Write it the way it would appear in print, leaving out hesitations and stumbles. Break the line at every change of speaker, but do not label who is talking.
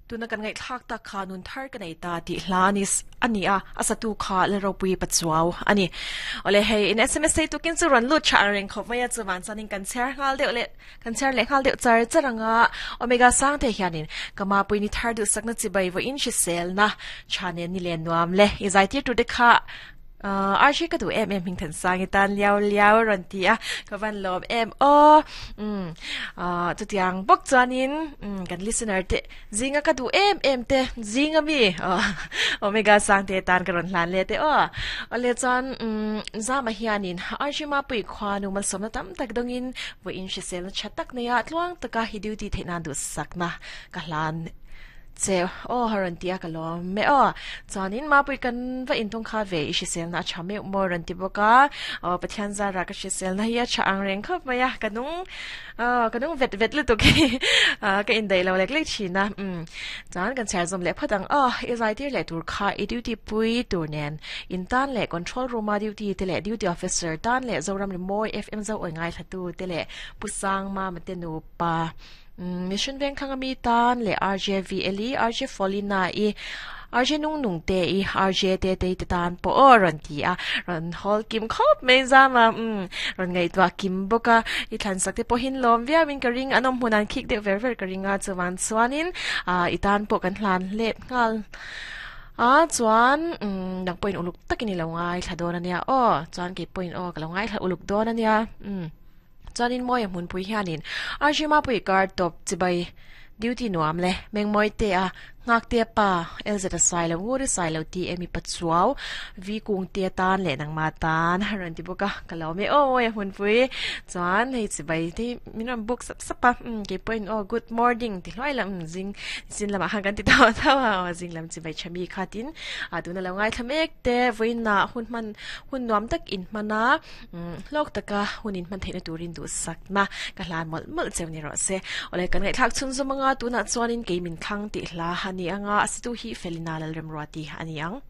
Tuna kan ngaihthlak tak kha nun thar ka nei ta tih hla a ni a ni a, a satu kha Lalropui Pachuau a ni. Awle hei in sms sei tukin chu rawn lut tha ang reng khawp mai a, chuvan chuanin kan chhiar nghal deuh leh kan chhiar leh nghal deuh char char ang a, Omega Sangte hianin ka mapui ni thar duhsakna chibai vawiin hriselna tha nen ni len nuam le i zaitir tur te kha Archie ka duh em em hming Thansang i tan liau liau a rawn ti a, ka van lawm em aw. Umm chutiang bawk chuanin kan listener te zinga ka duh em em te zinga mi Omega Sangte tan ka rawn hlan leh te aw. Awle chuan Zama hianin Archie Mapui khuanu malsawmna tam tak dawngin vawiin hriselna tha tak neia tluang taka hi duty theih nan duhsakna ka hlan Che aw a rawn ti a ka lawm e aw. Chuanin Mapui kan va intung kha ve i hriselna a tha meuh maw a rawn ti bawk a. Aw Pathian zara ka hriselna hi a tha ang reng khawp mai a, ka nung aw ka nung vet vet lutuk hi ka indaih lo lek lek thin a. Umm chuan kan chhiar zawm leh phawt ang aw i zaitir leh tur kha i duty pui tur nen in tan leh control room a duty te leh duty officer tan leh Zoram Rimawi FM zo awi ngaithlatu te leh Pu Sangmama te nupa Mission Vengthlang ami tan leh RJ VL i, RJ Folina i, RJ Nung Nung te i, RJ Te Tei te tan pawh aw rawn ti a, rawn hawl kim khawp mai zam a, umm rawn ngaihtuah kim bawk a, i thlansak te pawhin lawm viau in ka ring, an awm hmun an khik deuh ver ver ka ring a, chuvan chuanin ah i tan pawh kan hlan let nghal a, chuan umm nang pawhin uluk takin i lo ngaithla dawn a nia aw, chuan kei pawhin aw ka lo ngaithla uluk dawn a nia, umm. Chuanin Mawia hmunpui hianin RG Mapui kar tawp chibai duty nuam le Mengmawi te a Nghakte pa LZ a sailo ngur i sailo ti emi Pachuau Vi Kungte tan leh nangma tan a rawn ti bawk a ka lo me aw Mawia hmunpui chuan hei chibai te hi min rawn book sap sap a umm kei pawhin aw good morning ti hluai la umm zing zin lamah khan kan ti tauh tauh a aw zing lam chibai tha mi kha tin ah tuna lo ngaithla mek te vawiinah hun hman hun nuam tak in hman a. Hlawk taka hun in hman theihna turin duhsakna ka hlan mawlh mawlh cheu ni rawh se. Awle kan ngaihthlak chhun zum anga tunah chuanin kei min thlang tih hla a ni anga a situ hi Felina Lalremruati a ni ang.